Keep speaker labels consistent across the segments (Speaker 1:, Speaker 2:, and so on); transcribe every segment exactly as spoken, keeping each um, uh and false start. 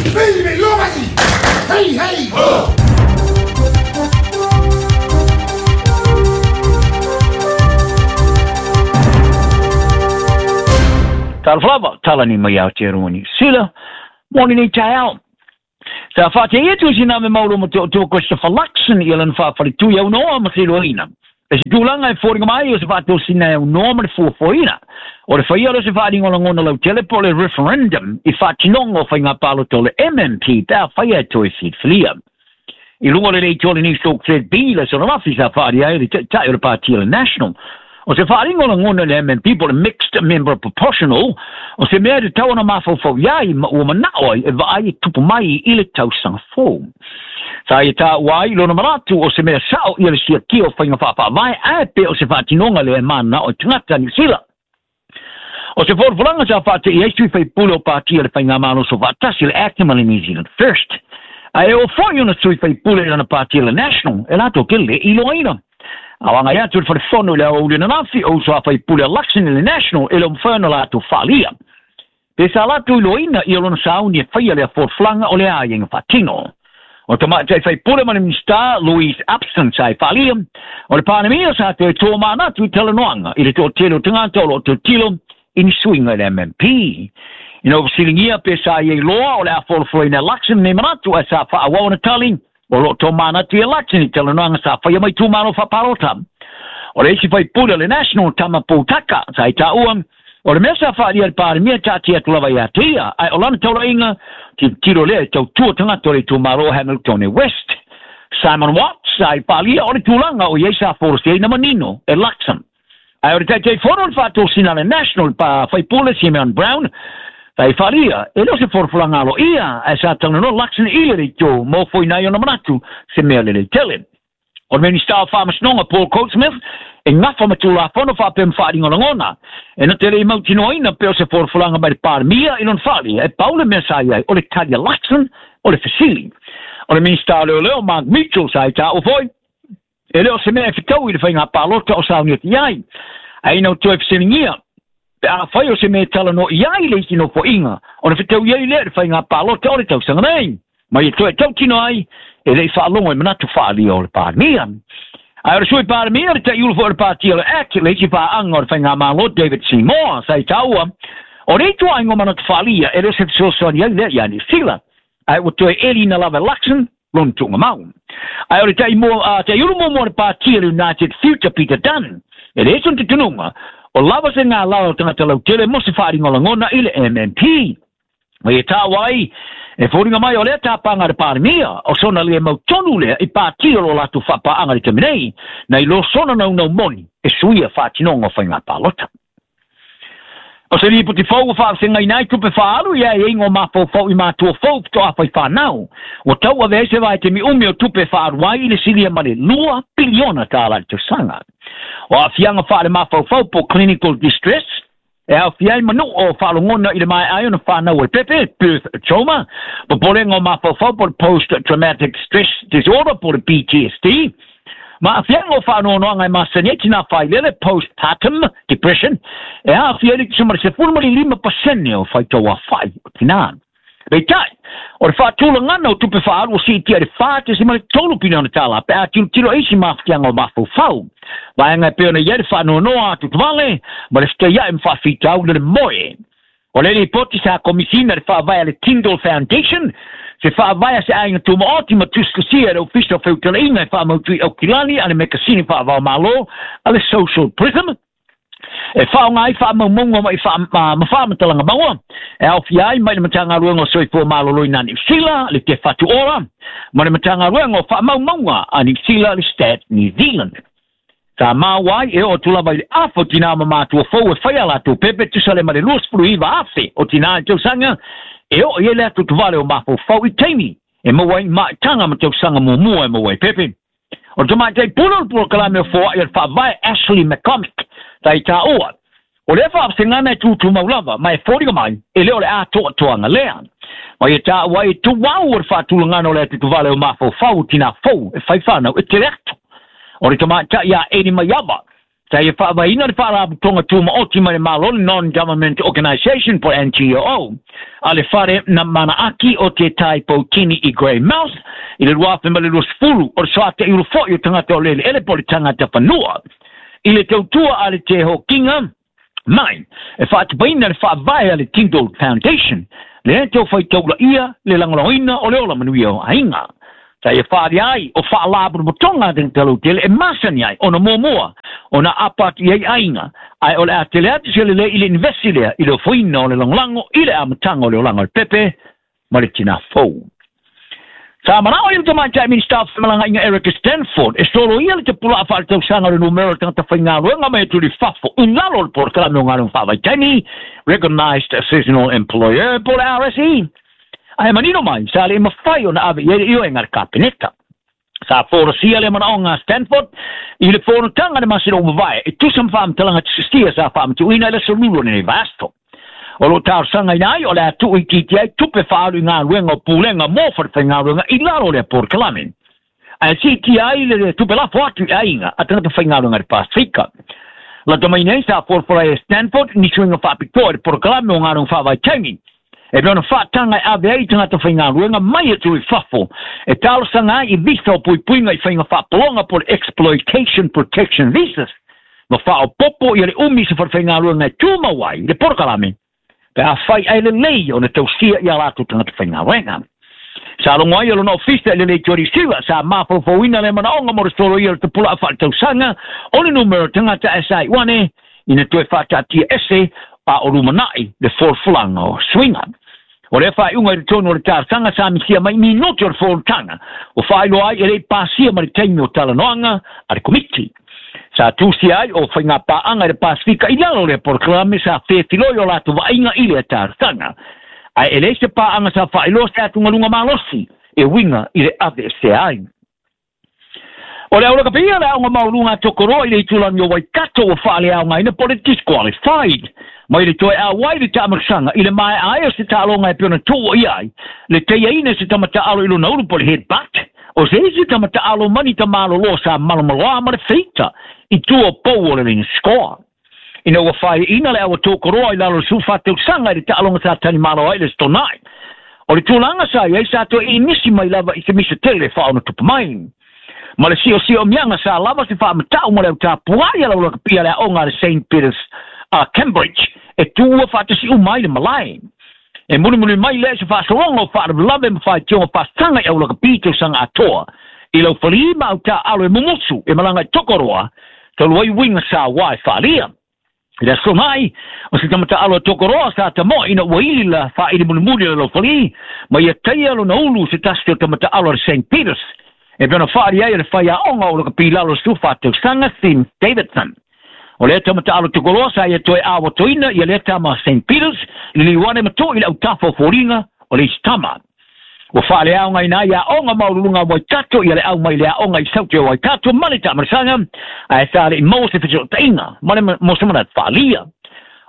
Speaker 1: Hey, hey! Oh!
Speaker 2: Tala tala ni mai Aotearoa Niu Sila, moni nei taeao. Sa whāte atu si nā me mauro mo te o tō Christopher Luxon i alan whāwharitui au noa ma te roina. E se tūlanga e fōringa mai o se whātōsina au noa ma te fuafuaina. O le whaia o se whaaringa ngona lau tele po le referendum i whātinonga o whai ngā pāloto le M M P pēa whaia e toi whiria. I lunga le rei tōle New Stoke Thread B le sona wafi sa whaari ai le tai o le pātia le National. O se whaaringa ngona le M M P po le Mixed Member Proportional o se mea te tau ana mawhauwhau iai ma ua manao ai e vaai e tupu mai i le tausanga fō. Sa i tā uai lona maratu o se mea sao i le siakia o whainga whaawhaawai ai pe o se whaatinonga le e mana o tangata Niu Sila. O se whorwhoranga sa whaate i eisui whai pule o pātia le whainga māno so whaatasi le Acting le New Zealand First. A e o whai ona sui whai pule i lana pātia le National e lātou ke le iloaina. A wanga ia tu le wharefono le au uli nanafi o uso a whai pule a Luxon le National e le umwhana lātou whaalia. Pe sa lātou iloaina i olona sauni e whaia le a whorwhlanga o le a ienga whaatino. O te mātai whai pule mana Minista Louise Upson sa i whaalia. O le pānemia sa te tō mānatu i talanoanga i le tō tele o tangata o lo tō tilo i ni suinga le M M P. Ina o pe sa i loa o le a whorwhlanga Luxon ne manatu a sa whaawawana tali o lo tō mānatu i Luxon i talanoanga sa whaia mai tū māno whaparota. O le isi whai pule le National Tama Pōtaka sa i tāua. O le mea sa whaaria le pāremia tāti atu lava i atia. Ai o lana taurainga ti tiro lea i tau tua tangata o le tūmaro Hamilton West. Simon Watts ai pālia o le tūlanga o iei sa forosi ei na manino e Luxon. Ai o le taitai fono le whaatosina le National pa whaipule Simeon Brown. Tai wharia, e leo se forofulanga alo ia, ai sa tanga no Luxon i le rei tō mō nai ona manatu se mea le le tele. O le Minista o Whamasnonga Paul Coatsmith, e ngafa matula whono whapem whaaringa langona. E na te rei mautinoina peo se forofulanga mai le pārmia i lon whaari, e paule mea sa iai o le Talia Luxon o le Fesili. O le Minista leo leo Mark Mitchell sa i tā o foi, e leo se mea e whitau i le whainga pālota o sauni o te iai. Ai nau toe whasilingia, pe a whai o se mea tala no iai le iti no poinga, o le whitau iai lea le whainga pālota o le tausanga nei. Mai e toe tautino ai, e lei whaalongo e manatu whaalia o le pārmia. Ai o le sui pārmia, le tai ulu o le pātia le Act, le iti whaanga o le whainga mālo David Seymour, sa i taua, o le itua ingo manatu whaalia, e leo se whisosoani ai lea ia Niu Sila. Ai o toe eli na lava Luxon, lon tunga mau. Ai o le tai, mo, uh, tai ulu mo mo le pātia le United Future Peter Dunn, e le eson te tununga, o lava se ngā lao tangata lau tele mo se whaaringa langona i le M M P. Mai e tāwai, e fōringa mai o lea tāpanga le pārmia, o sona le mau tonu lea i pātia lo lātou whapaanga le taminei, nei lo sona nau nau moni e suia whaatinonga whai ngā pālota. O se ripo te fau o whaasenga inai tupe whaalu ia e ingo mawhau i mātua fau to a whai whanau. O tau ave se vai te mi umi o tupe whaaruai i le silia mare lua piliona tāla le tausanga. O a fianga whaale mawhau po clinical distress, e au fiai manu o whaalongona i le mai ai ona whanau e pepe, birth trauma, po porenga o mawhau po post-traumatic stress disorder po le P T S D. Ma fianga o whaanoanoanga e masani nā whailele postpartum depression, e a fiai le kisumara se fulu lima pasene o whaitaua whai o tina. Rei tai, o le whaatulangana o tupe whaaru o si tia le whaate se mare tolu pina ona tāla, pe a tilo tilo eisi mawhianga o mawhauwhau. Vaenga e peona ia le whaanoanoa atu twale, ma le whitai e mwhawhitau le moe. O le ripoti sa komisina le whaavaia le Tyndall Foundation, se whaavaia se ainga tūmaoti ma tuskasia le ofisa o whautalainga e whaamautui au kilani a le mekasini whaavao malo a le Social Prism. E whaonga ai whaamaumaunga mai whaamatalanga maua. E au fiai mai le matanga ruenga o soifua malolo i nā Niu Sila, le Te Whatu Ora, ma le matanga ruenga o whaamaumaunga a Niu Sila le Stat New Zealand. Sa māwai e o tulawa i le awha o tina ma mātua fau e whaia lātou pepe tusale ma le luasfuru iwa awhe o tina i tausanga e o i ele atu tuvale o māfau fau i teimi e maua i maitanga ma tausanga mumua e maua i pepe. O te mātai puna o le polokalame o fōa i le whaavae Ashley McCormick ta i tā oa. O le whaafsengana e tūtū maulava mai e fōringa mai e leo le atoa toanga lea. Mai e tā ua e tuau o le whaatulangana o le atu tuvale o māfau fau o tina fau e whaiwhanau e te reato. O le tamaitai ia Eni Maiava, Sa ia whaavaina le whaaraputonga tūmaoti mai le Malo le Non-Government Organisation po N G O. A le whare na manaaki o te tai poutini i Greymouth i le ruafe ma le luasfulu o le soate i ulufoi o tangata o lele ele po le tangata whanua. I le tautua a le te hokinga mai e whaatupaina le whaavae a le Tindall Foundation le e tau whaitaula ia le langolaina o le ola manuia o ainga. Sa ia whaari ai o whaalaburumotonga teng talo tele e masani ai ona muamua ona apa atu i ai aiga ae o le a tele atu se lelei i le investi lea i le ofoina o le lagolago i le amataga o le olaga o le pepe ma le tinā fou. Sa manao i le tamaitai Minista o Femalagaiga Erica Stanford e solo ia le tapulaa faaletausaga o le numera o le tagata faigaluega mai atu i fafo i lalo o le polokalame o galuega faavaitaimi Recognized Seasonal Employer po le R S E. Ae manino mai, sa le mawhai o na ave i ere ioe ngā kapeneta. Sa forosia le manaonga Stanford, i le fonotaga le masina o mavae, e tusa ma whaamtalanga tisistia sa whaamtuina i le salulo nei vasto. O lo talosaga ina ai o le atu i titi ai tupe whaalu i ngā luenga o pulenga mō wharewhainga i lalo le porokalame. Ae siti ai le tupe lafo atu i ainga a tangata whaingaluenga le Pasifika. La tamai nei sa forofora e Stanford ni suinga whaapitoa i le porokalame o ngā luenga whaavaitaimi. E pea ona whaatanga e ave ai tangata whaingaluenga mai atu i fafo. E talosaga ai i visa o puipuiga i whainga whaapolonga po le Exploitation Protection Visas. Ma whaopopo i le umi se wharewhaingaluenga e tūmau ai le porokalame. Pe a whai ai le lei o na tausia i a lātou tangata whaingaluenga. Sa longo ai o lona ofisa i le lei tuari siwa, sa mawhauwhauina le manaonga mo le solo ia le tapula a whaatausaga o le numero tangata S I one ina toe whaatatia ese a o rumanai le forfulanga o swinga. O le whaiunga i le tonu o le talosaga sa misia mai minoti o le forutanga. O whailoa ai e lei pasia ma le taimi o talanoaga a le komiti. Sa tusia ai o whainga paanga i le Pasifika i lalo le porokalame sa whewhiloi o lātou vaaiga i le talosaga. Ae e le se paanga sa whailoa se atungalunga malosi e winga i le ave se ai. O le aula kapia le aonga maulunga tokoroa i le itulangi o Waikato o whaale aonga ina po le disqualified. Mai le toe a wai le taamasaga i le mae ai o se taaloga e pei ona tuua i ai. Le teiaina se tamataalo i lona ulu po le headbutt. O se isi tamataalo mani tamaloloa sa malomaloa ma le feita i tua pou o le ring score. Ina ua whaiina le awa tokoroa i lalo le sufatausaga i le taaloga sa tanimalo ai le stonai. O le tulaga sa iai sa toe inisi mai lava i se misa tele whaona tupa mai. Ma le sio sio mianga sa lava se whaamatau ma le autapuai ala ula kapia le aonga le Saint Peters uh, Cambridge e tuua whaatasi umai le malai. E mulimuli mai le se whaasoronga o whaarawalave ma whaitionga whaasanga i aula kapi tausaga atoa. I lau whalii ma au tā alo e mumusu e malanga i tokoroa, talu ai winga sa wai whaalia. I le aso mai, o se tamata alo e tokoroa sa tamoa ina ua ili la whaili mulimuli le lau whalii, ma ia teia lo na ulu se tasi o tamata alo le Saint Peters. E pea ona whaari ai o le whaiaonga o le kapi lalo su whaatausaga Sim Davidson. O lea tamata alo tokoroa sa ia toe awatoina ia lea tama Saint Peters, le liwane mato i le autafa o fōringa o le istama. Ua whaale aonga ina ia aonga maululunga Waikato ia le au mai le aonga i saute o Waikato ma le taamarasaga, ae sa le i maua se fesootaiga ma le mosamana whaalia.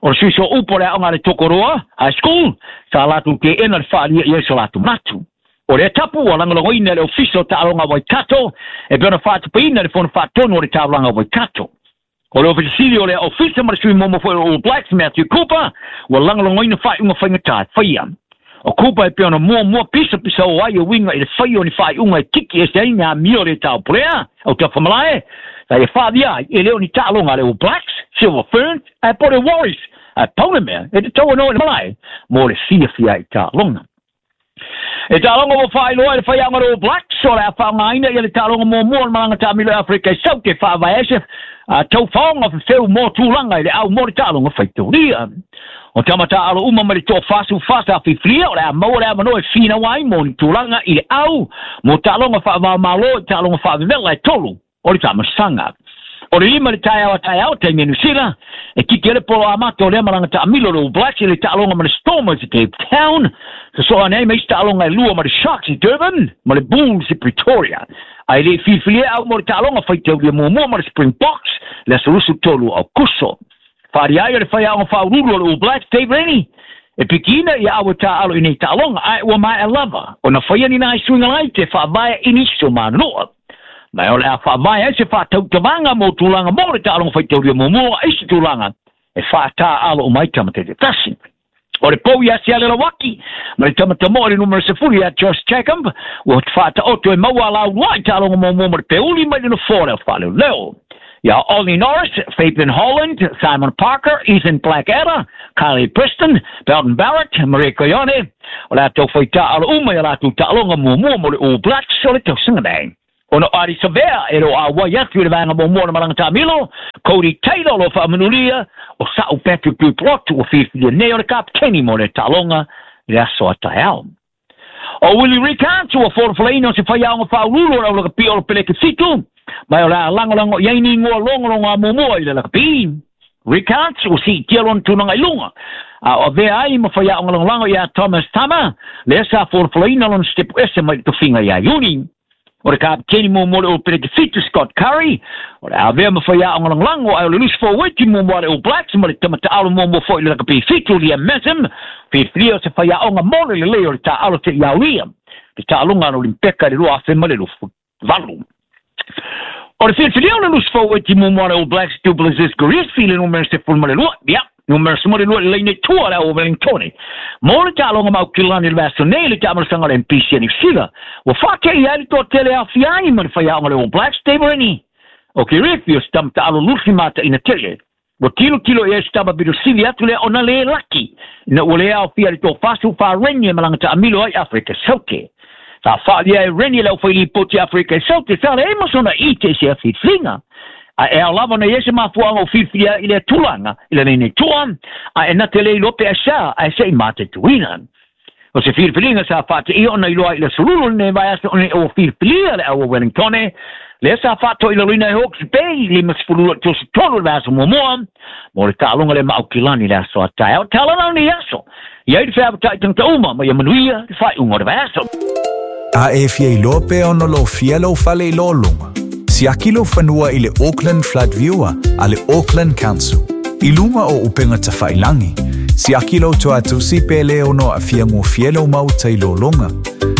Speaker 2: O le suiso upo le aonga le Tokoroa High School, sa lātou te ena le whaalia i so lātou matu. O le tapu o langolagoina le ofisa o taaloga Waikato, e pea ona whaatupaina le fono whaatonu o le taulaga Waikato. O le ofisa o le ofisa ma le sui momo foi o All Blacks Matthew Cooper, ua langolagoina whaiunga whaingatā whaia. O Cooper e pea ona mua mua pisa pisa o ai o winga i le whai o ni whaiunga e tiki e se ai ngā mio le tau purea, au te whamalae, sa e whaavia ai e leo ni taaloga le All Blacks, Silver Ferns, ae po le Warriors, ae pauna mea, e te tau anō i le malae, mō le fiafia i taaloga. E taaloga mo whailoa i le whaianga le All Blacks, o le a whaangaina i le taaloga muamua o le malanga taamilo e Afrika i saute whaavae ese, a tau whaonga whewheu mō tūlanga i le au mō le taaloga whaitauria. O tamata alo uma ma le tō whasu whasa whiwhiria o le a maua le a manoa e whina wai mō ni tūlanga i le au mō taaloga whaavao malo i taaloga whaavevela e tolu o le tamasanga. O le lima le taeao a taeao te New Zealand, e kiki ele polo amato o lea malanga taamilo le All Blacks i le taaloga ma le Stormers i Cape Town. Sa soa nei mai taaloga e lua ma le Sharks i Durban, ma le Bulls i Pretoria. Ai le whiwhiria au mō le taaloga whaitauria muamua ma le Springboks, le aso tolu au kuso. Whaari ai o le whaiaonga whaururu o le All Blacks, Dave Rennie. E pikina ia awa taalo i nei taaloga, ae ua mai a lava. O na whaia ni nai suinga lai te whaavae iniso manoa. Ma o le a whaamai ai se whaatautavanga mo tulaga mo le taaloga faitaulia muamua ai se tulaga e faataaalo uma ai tama taitatasi. O le pou ia se ale lawaki, ma le tamatamo o le numero sefulu ia Josh Jacob, ua whaataoto e maua lau lai taaloga muamua ma le peuli mai le nofoa leo faaleoleo. Ia Ollie Norris, Fabian Holland, Simon Parker, Ethan Blackadder, Kylie Preston, Belton Barrett, Maria Coyone, o le atou faitaalo uma ia latou taaloga muamua mo le All Blacks o le tausaga nei. Ona Adi Savea e lo a wai atu i le vaega muamua na malaga taamilo, Cody Taylor lo faamanulia, o Sa'u Patrick Duplot ua filifilia nei o le kapiteni mo le taaloga i le aso a taeao. O Willie Rickards ua folafolaina o se faiaoga faauluulu o le aulakapi o le peleke fitu, mai o le a lagolago i ai ni igoa logologo a muamua i le lakapi. Rickards ua siitia lona tulaga i luga, a o avea ai ma faiaoga lagolago ia Thomas Tama, lea sa folafolaina lona setepu ese mai le tofiga ia Iuni. O le kapiteni muamua le All Fitu Scott Curry, o le avea ma faiaoga lagolago ai o le loose forward muamua le All Blacks ma le tamataalo muamua foi i le lakapi fitu Liam Messam, filifilia o se faiaoga mo le lelei o le taalo te iaulia, le taaloga na Olimpeka i le lua afe ma le lufu valu. O le filifilia o le loose forward muamua le All Blacks Duplessis Garifi le numero sefulu ma le lua, ia, numero sefulu ma le lua le laine tua le au Wellingtone. Mo le taaloga maukilani le vaiaso nei le taamalasaga o le M P C a Niu Sila, ua faatei ai le toatele afiai ma le faiaoga le All Blacks Dave Rennie. O Garifi o se tamataalo lusi mataina tele. Ua tilotilo i ai se tama pito sili atu lea ona le laki, ina ua le aofia le tofasu faa-Rennie e malaga taamilo ai Afrika Saute. Sa faalia e Rennie le aufailipoti Afrika Saute, sa le ma sona i te se filifiliga. A e ao lava na ia se mafuaga o filifilia i le tulaga i le nei tua, a e nate le iloa pe asa, a e se i matetuina. O se filifiliga sa faateia ona iloa i le sululu lenei vaiaso ona o filifilia le au o Wellingtone, lea sa faatoilaloina e Hawke's Bay lima sefulu tosi tolu le vaiaso muamua, mo le taaloga le maaukilani le aso a taeao. Talana nei aso, ia i le feavatai tagata uma ma ia manuia le faaiuga o le vaiaso.
Speaker 3: A e fia iloa pe ona lo fia lau fale i lōlunga. Siaki lau fanua i le Auckland Flood Viewer a le Auckland Council. I lunga o upenga tawhailangi. Siaki lau toatusi pe le ono a fia ngō lau mauta i lōlunga.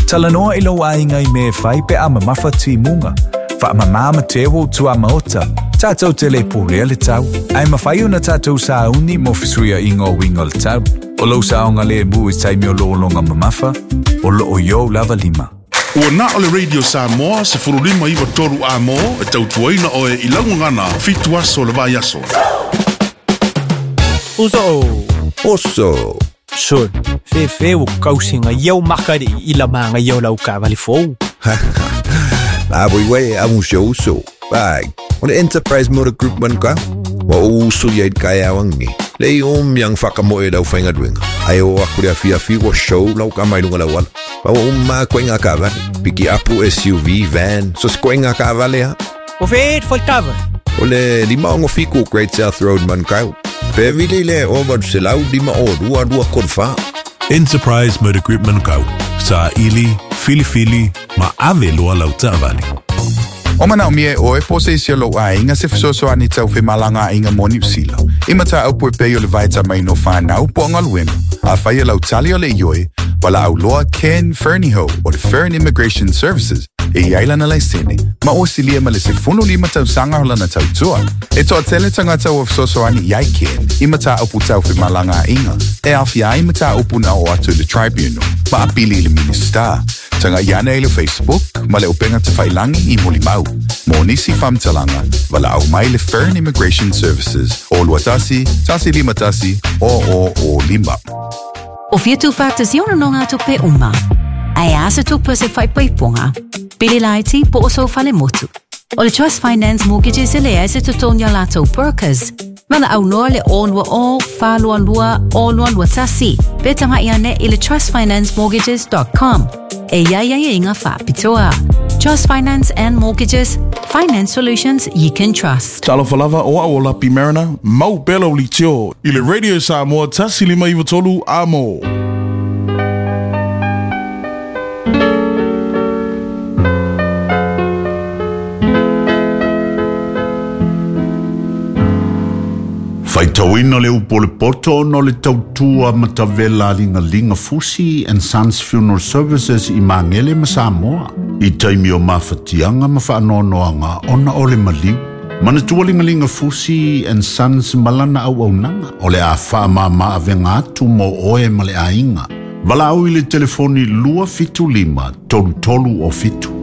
Speaker 3: Talanoa i lau ainga i me whai pe a mamafa timunga. Wha mamama te wo tua maota. Tātou te le pōrea le tau. Ai mawhai ona tātou sāuni mo fisuia ingo wingo le tau. O lau saonga le mu i taimi o lōlunga mamafa. O loo yo lava lima.
Speaker 1: Ua na o le Radio Samoa se furulima iwa toru a mo e tautuaina oe i laugagana fitu aso le vaiaso.
Speaker 4: Uso.
Speaker 5: Oso.
Speaker 4: Sol. Fefe o kausinga iau makari i la manga iau lau kavali fou.
Speaker 5: La voi wei amu se uso. Bai. O le Enterprise Motor Group man ka. Wa uso ia i kai awangi. Le om yang whakamoe lau whainga duenga. Ai o aku rea fia fi wa show lau ka mai lunga lau ala. Pa wa umma koe ngā kavale. Piki apu S U V, van, so se koe ngā kavale ha.
Speaker 4: O whēt whai kava?
Speaker 5: O le lima ongo fiku Great South Road man kau. Pe vili le o wadu se lau lima o rua rua korwha.
Speaker 6: Enterprise Motor Group Manukau. Sa ili, fili fili, ma ave loa lau taavale.
Speaker 7: O manao mie oe po se isi o lou aiga se fesoasoani tau femalagaaiga mo Niu Sila. I mataupu e pei o le vaetamaina o fanau po o galuega. Afai e lau tali o le ioe, walaau loa Ken Ferniho o le Fern Immigration Services e iai lana laisene, ma o silia ma le sefulu lima tausaga o lana tautua. E toatele tagata ua fesoasoani iai Ken i mataupu tau femalagaaiga e aofia ai mataupu na oo atu i le tribunal ma apili i le Minista. Taga iana i le Facebook ma le upenga tafailangi i mulimau. Mo nisi faamatalaga, walaau mai le Fern Immigration Services o lua tasi, tasi lima tasi, o o o lima.
Speaker 8: O fia tūwhātasio no ngā tupe uma. Ai asa tupe se whaipaiponga. Pili laiti po o so whale motu. O le Trust Finance Mortgages e lea se tutonia lātou brokers. Mana au noa le o nua o, whālua lua, o lua lua tasi. Pe tanga iane i le trust finance mortgages dot com. E ia ia ia inga whāpitoa. Trust Finance and Mortgages, finance solutions you can trust.
Speaker 1: Talofa lava o au o Lapi Mariner, mau pela o litio. I le Radio Samoa tasi lima iwa tolu a mo. Faitauina le upu o le poto ona o le tautua matavela Ligalinga Fusi and Sons Funeral Services i Magele ma Samoa. I taimi o mafatiaga ma faanoanoaga ona o le maliu. Manatua Ligalinga Fusi and Sons malana auaunaga o le a faamama avega atu mo oe ma le aiga. Valaau i le telefoni lua fitu lima tolu tolu o fitu.